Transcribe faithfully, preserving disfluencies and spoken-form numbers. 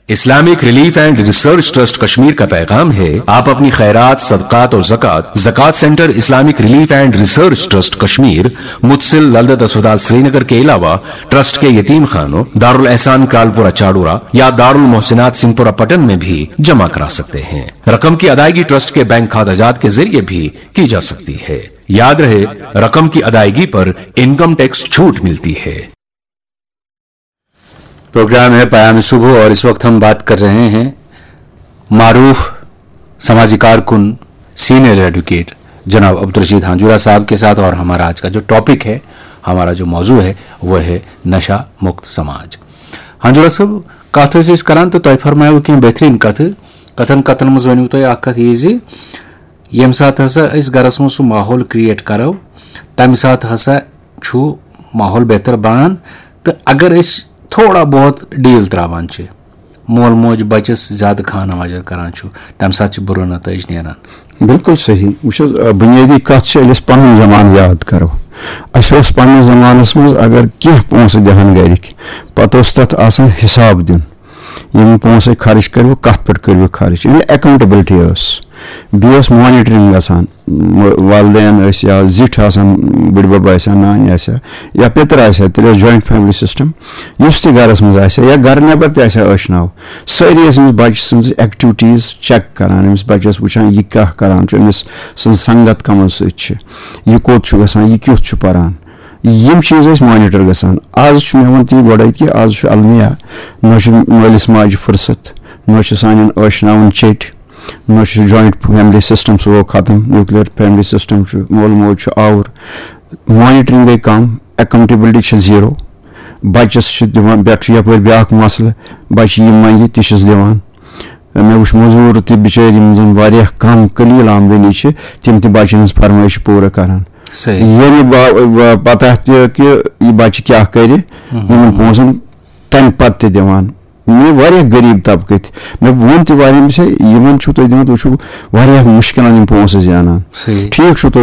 Islamic relief and research trust Kashmir کا پیغام ہے، آپ اپنی خیرات، صدقات اور زکوٰۃ زکوٰۃ centre Islamic relief and research trust Kashmir, متصل للدت اسپتال سرینگر کے علاوہ ٹرسٹ کے یتیم خانوں، دارالاحسان کرالپورہ چاڑورہ یا دارالمحسنات سنگپورہ پٹن میں بھی جمع کرا سکتے ہیں۔ رقم کی ادائیگی ٹرسٹ کے بینک کھاتہ جات کے ذریعے بھی کی جا سکتی ہے۔ یاد رہے، رقم کی ادائیگی پر انکم ٹیکس چھوٹ ملتی ہے۔ پروگرام ہے پیام صبح اور اس وقت ہم بات کر رہے ہیں معروف سماجی کارکن، سینئر ایڈوکیٹ جناب عبدالرشید ہانجورا صاحب کے ساتھ، اور ہمارا آج کا جو ٹاپک ہے، ہمارا جو موضوع ہے، وہ ہے نشہ مکت سماج۔ ہانجورا صٲب، کتھ ٲسۍ أسۍ کران تہٕ تۄہہِ فرمایو کینٛہہ بہترین کتھٕ۔ کتھن کتھن منٛز ؤنِو تُہۍ اکھ کتھ، یہِ زِ ییٚمہِ ساتہٕ ہسا أسۍ گرس منٛز سُہ ماحول کریٹ کرو، تمہِ ساتہٕ ہسا چھُ ماحول بہتر بنان۔ تہٕ اگر أسۍ تھوڑا بہت ڈیٖل تراوان چھِ، مول موج بچس زیادٕ خانہ واجر کران چھُ، تمہِ ساتہٕ چھِ بُرٕ نتٲیج نیران۔ بالکل صحیح۔ وٕچھ حظ، آ، بُنیٲدی کَتھ چھِ، ییٚلہِ أسۍ پَنُن زمانہٕ یاد کَرو، اَسہِ اوس پنٛنِس زمانَس منٛز اگر کینٛہہ پونٛسہٕ دِہَن گَرِکۍ، پَتہٕ اوس تَتھ آسان حِساب دیُن، یِم پونٛسہٕ خرٕچ کٔرِو، کَتھ پٮ۪ٹھ کٔرِو خرٕچ، یعنی اکاؤنٹیبلٹی ٲس۔ بیٚیہِ اوس مانیٹرنگ گژھان، م-، والدین ٲسۍ یا زِٹھۍ آسان، بٕڈبب آسہِ ہا، نانۍ آسہِ ہا، یا پیٚتٕر آسہِ ہا، تیٚلہِ اوس جوائنٹ فیملی سسٹم۔ یُس تہِ گرس منٛز آسہِ ہا یا گرٕ نٮ۪بر تہِ آسہِ ہا ٲشناو، سٲری ٲسۍ أمِس بچہٕ سٕنٛز ایکٹیویٹیٖز چیک کران، أمِس بچس وٕچھان، یہِ کیٛاہ کران چھُ، أمِس سٕنٛز سنگت کمن سۭتۍ چھِ، یہِ کوٚت چھُ گژھان، یہِ کیُتھ چھُ پران۔ یِم چیٖز ٲسۍ مانیٹر گژھان۔ آز چھُ، مےٚ ووٚن تی گۄڈے کہِ آز چھُ المیہ، نہ چھُ مٲلِس ماجہِ فرصت، نہ چھُ سانٮ۪ن ٲشناوَن چیٚٹۍ، نہ چھُ جوائنٹ فیملی سسٹم، سُہ گوٚو ختم، نیوکلیئر فیملی سسٹم چھُ، مول موج چھُ آوُر، مانیٹرنگ گٔے کم، اکاؤنٹیبلٹی چھِ زیٖرو۔ بچس چھِ دِوان، پٮ۪ٹھ چھُ یپٲرۍ بیٛاکھ مسلہٕ، بچہِ یہِ منگہِ تہِ چھِس دِوان۔ مےٚ وٕچھ مٔزوٗر تہِ بِچٲرۍ، یِم زن واریاہ کم قلیل آمدنی چھِ، تِم تہِ بچن ہٕنٛز فرمٲیش چھِ پوٗرٕ کران۔ صحیح۔ ییٚمہِ با-، با-، پتہ تہِ کہِ یہِ بچہِ کیٛاہ کرِ، یِمن پونٛسن تمہِ پتہٕ تہِ دِوان۔ مےٚ واریاہ غریٖب طبقہٕ تہِ، مےٚ ووٚن تہِ واریاہ، مےٚ چھا یِمن چھُو تُہۍ دِوان، تُہۍ چھِو واریاہ مُشکلن یِم پونٛسہٕ زینان۔ صحیح۔ ٹھیٖک چھُ،